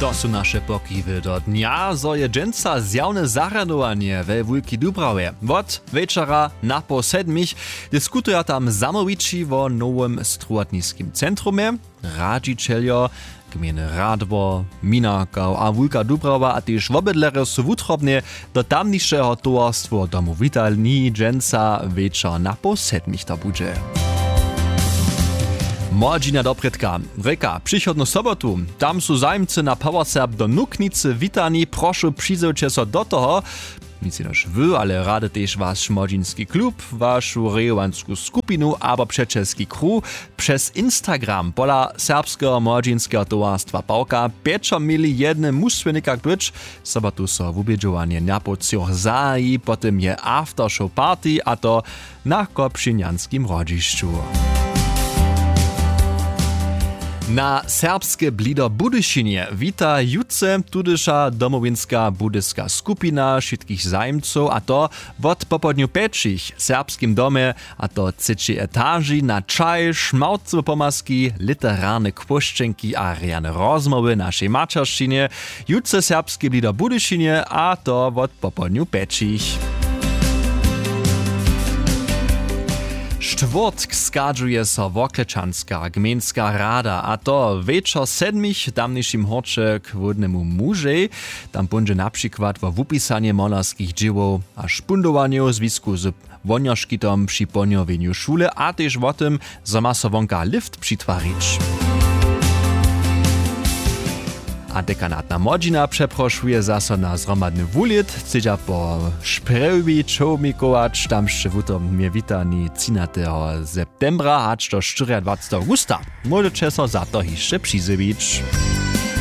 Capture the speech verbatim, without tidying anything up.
To su naše pokiwy do dnja. Zo je dźensa zjawne zarjadowanje we wulki dubrawje wot wječora napoł sedmich, diskutuja tam zamołwići wo nowym strowotniskim centrumje. Radźićeljo gmejny radwor, minarka a wulka dubrawa a tež wobydlerjo su wutrobnje do tamnišeho towarstwo domu witani dźensa wječor napoł sedmich to budźe. Młodźina doprědka rěka přichodnu sobotu. Tam su zajimcy na powerserb do nuknicy witani prošu přizywće so do toho. Nic jenož wy ale rady tež waš młodźinski klub, wašu rejowansku skupinu abo přećelski kruh přez instagram pola serbskeho młodźinskeho towarstwa pawka pječo měli jednym musłownikach być. Sobotu so wubědźowanje na połcjoch zahaji po tym je aftershow party a to na kopšinjanskim hrodźišću. Na serbske blido budyšinje wita jutře tudyša domowinska budyska skupina wšitkich zajimcow a to wot popołdnju pjećich w serbskim domje, a to třećej etaži na čaj šmałcowe pomazki literarne kłóšćenki a rjane rozmołwy w našej maćeršćinje. Jutře serbski blido budyšinje a to wot popołdnju pjećich. Štwórtk schadźuje so worklečanska gmejnska rada a to wječor sedmich w tamnišim hórće k hłódnemu mužej. Tam póńdźe na přikład wo wupisanje molerskich dźěłow a špundowanjow w zwisku z wohnjoškitom při pohnjowjenju šule a tež wo tym zo ma so wonka lift přitwarić. A dekanatna młodźina přeprošuje zaso na zhromadny wulět chcedźa po šprjewji čołmikować tamsće wutom mje witani třinateho septembra hač do štyriadwaceteho awgusta. Móžeće so za to hišće přizjewić.